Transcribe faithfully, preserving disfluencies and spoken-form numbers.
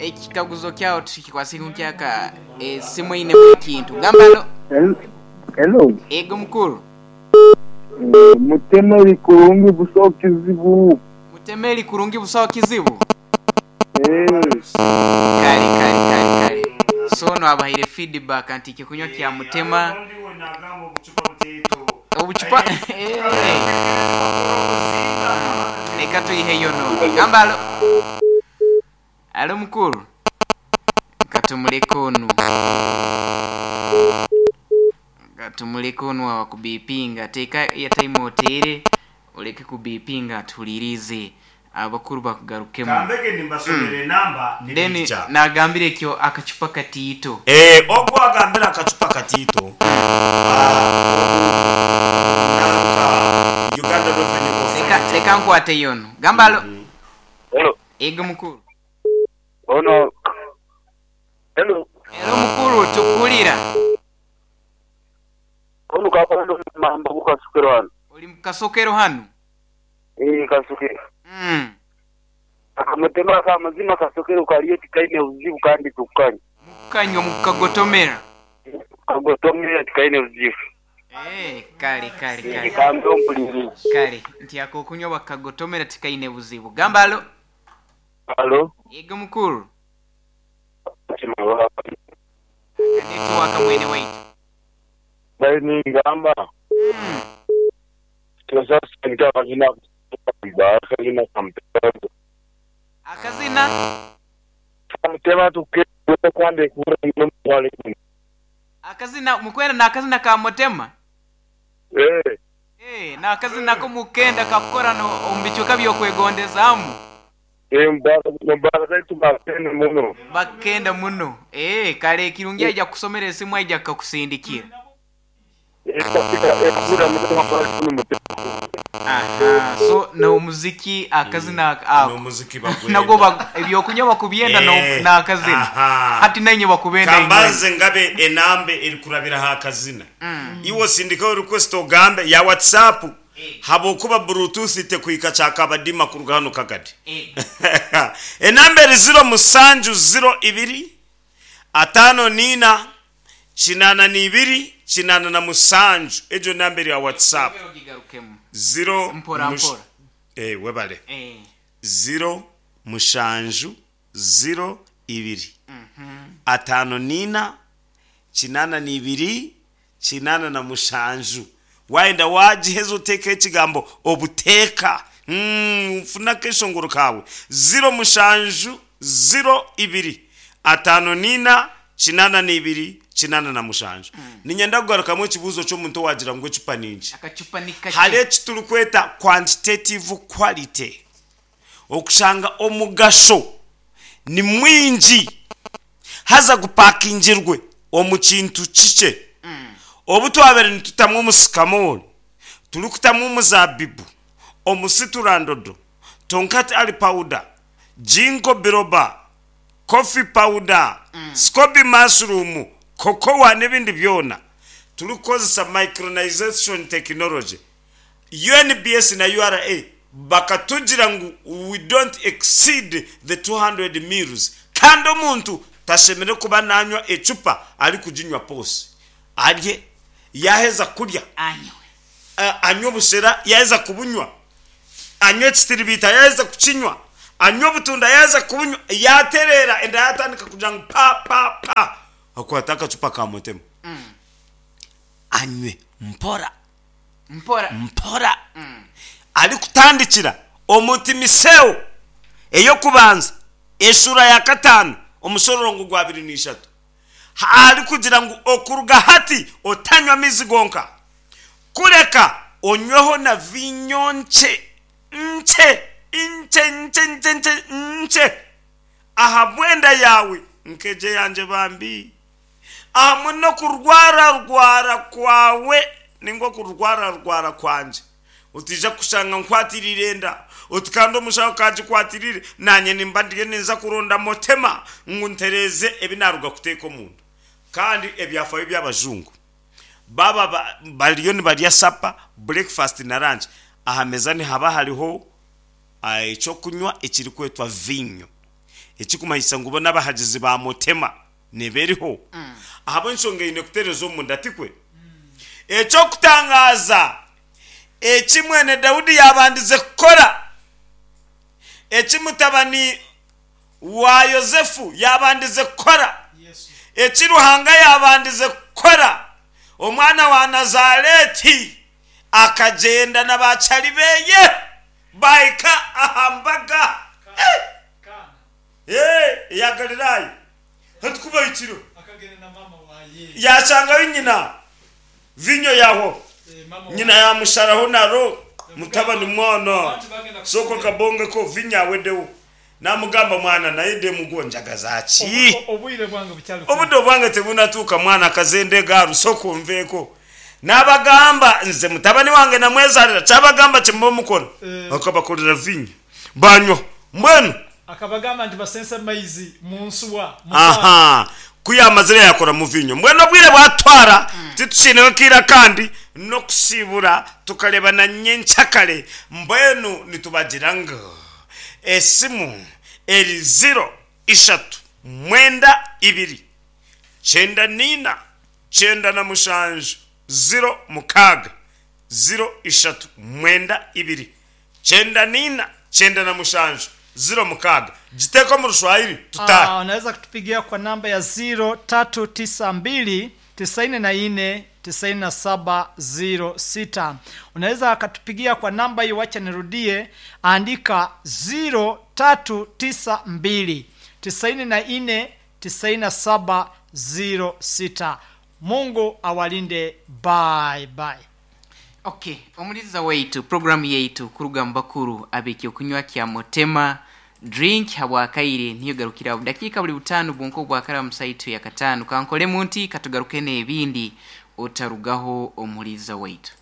Ekikaguzo kyawo tukikwasiku nkyaka esimu einemu ekintu. Gamba alo. Hello. Ego mukuru. Eh, mutemeri kurungi busaho kizibu. Mutemeri kurungi busaho kizibu. Eh, Kale kale kale kale. So no abahaire feedback nti ekyokunywa kya mutema obucupa. Eh. Leka tuyiheyo nono. Gamba alo. Alo mukuru. Katumuleke onu. Katumuleke onu awa kubipinga. Teeka airtime oteere oleke kubipinga tuhulirize abakuru bakugarukemu. Kambege nimbasomera enamba. Then nibija. nagambire ekyo akacupa katiito. Eh, ogwo agambira akacupa katiito, ah, nanka Uganda Revenue Leka Authority. leka nkwate yono. Gamba alo. Hello. Ego mukuru. Ono. Hello. Ero mukuru tukulira. Ono kakondo mamba kukasukiro hano. Oli mukasokero hano. Eh, kasukiro. Mm. Akamutema ka mazima kasukiro kaliyo tikaine uzibu kandi tukanya. Mukanywa mukagotomera. Kagotomera tikaine uzibu. Eh, kale kale kale. Kambe ompulirize. Kale nti ako okunywa bakagotomera tikaine buzibu. Gamba alo. Hello. Ego mukuru. Network mwene waitu. Bali ngamba. Mm. Sasa akazina akazina kamutema. Akazina Kamutema tuke kwande kura n'omutwale. akazina mukwenda n'akazina ka mutema. Eh. Eh, n'akazina ko mukenda kakukora no omu bicuka byokwegondezaamu. Eh, mbara mbara zaitu bakenda muno. Bakenda muno. Eh, kale ekirungi aija kusomera esimu aija kakusindikira. Aha, so n'omuziki akazina ako. N'omuziki bagwenda. Nagwo ba- ebyokunywa bakubyenda no- Eh, n'akazina. aha. Hati nainye bakubenda inywe. Kambanze ngabe enambe erikurabiraho akazina. Iwe osindikeho request ogambe ya WhatsApp habwokuba Bluetooth tekuhika kyakabadima kuruga hano kagadi. Eh, Enamba eri ziro musanju ziro ibiri atano nina kinana n'ibiri kinana na musanju. Egyo namba eri ya WhatsApp. ogigarukemu. Ziro Mpora, mush- mpora. Eh, webale. Eh, Ziro mushanju ziro ibiri atano nina kinana n'ibiri kinana na mushanju. Wayenda wagiheza oteekaho ekigambo obuteeka. Mm, nfunako eshongoro kawe. Ziro mushanju ziro ibiri atano nina kinana n'ibiri kinana na mushanju. Ninyenda kugarukamu ekibuuzo ky'omuntu owagira ngu ecupa ningi. Akacupa ni kake. Hari eki turikweta quantitative quality, okushanga omugasho ni mwingi haza gupakingirwe omu kintu kikye. Obu twabere nitutamu omusikamori, turikutamu omuzabibu, omusiturandodo, tonkat ali powder, ginkgo biloba, coffee powder, scoby mushroom, cocoa n'ebindi byona, turikukozesa micronization technology. U N B S na U R A bakatugira ngu we don't exceed the two hundred mils, kandi omuntu tashemere kuba nanywa ecupa ari kuginywa pose. Arye, yaheza kurya Anywe. uh, anywe obushera, yaheza kubunywa anywe ekitiribita, yaheza kukinywa anywe obutunda, yaheza kubunywa yaterera enda yatandika kugira ngu pa pa pa, akwata akacupa ka mutema anywe mpora. Mpora. Mpora arikutandikira omutimiseo eyokubanza eshura ya katano omushororongo gwa abiri n'ishatu, ari kugira ngu okuruga hati otanywa amizi gonka, kureka onyweho na vinyo nce nce nce nce nce nce nce aha bwenda yawe nkeje yanje bambi aha no kurwara rwara kwawe ningwo kurwara rwara kwanje utija kushanga nkwatirire enda uti kandi omushaho kagikwatirire nanye nimba ndiyo ninza kuronda motema ngu ntereze ebi naruga kuteeka omundu. Kandi ebyafayo by'abajungu baba ba- bariyo nibarya supper, breakfast na lunch, aha meza nihaba hariho ah, ekyokunywa ekirikwetwa vinyo. Ekikumanyisa ngu bo n'abahagizi ba Mutema neberiho ahabw'enshonga eine kutereza omunda, tikwe? Ekyokutangaza eki mwene Daudi yabandize kukora, eki mutabani wa Yosefu yabandize kukora, eki Ruhanga yabandize kukora, omwana wa Nazareti akagenda na bacari beye bahika aha mbaga Eh! Eh, eya Galilaya hatukubahikiro yashangayo nyina, vinyo yaho nyina yamusharaho naro mutabani mwana soko kabongeko vinyo awedewo, namugamba mwana naye demugonjaga zaki Obwire bwange bukyali. Obudde obwange tebunatuuka mwana, akazende garu soko nveeko. N'abagamba nze mutabani wange namwezalira, kyabagamba kyemuba mukora. Eh. Akabakolera vinyo banywa mbwenu. Akabagamba nti basense maizi munsuwa. Aha, kuyamazire yakora mu vinyo. Mbwenu obwire bwatwara titukiineho kiira kandi n'okusibura tukareba na nyenkyakare. Mbwenu nitubagira ngu esimu eri ziro ishatu mwenda ibiri kyenda niina kyenda na mushanju ziro mukaaga, ziro ishatu mwenda ibiri kyenda niina kyenda na mushanju ziro mukaaga. Giteeka omu Rushwahiri tutahe. Ah, unaweza kutupigia kwa namba ya ziro tatu tisa mbili tisini na nne tisini na saba ziro sita. Unaweza akatupigia kwa namba hiyo, wacha nirudie, andika ziro tatu tisa mbili tisini na nne tisini na saba ziro sita. Mungu awalinde, bye bye. Okay, omuliza waitu, programu yaitu kuruga mu bakuru ab'ekyokunywa kya Motema Drink habwakaire niyo garukira dakika buli butano bwonko bwakara musaitu ya katano kankolemu nti katugaruke n'ebindi, otarugaho omuliza waitu.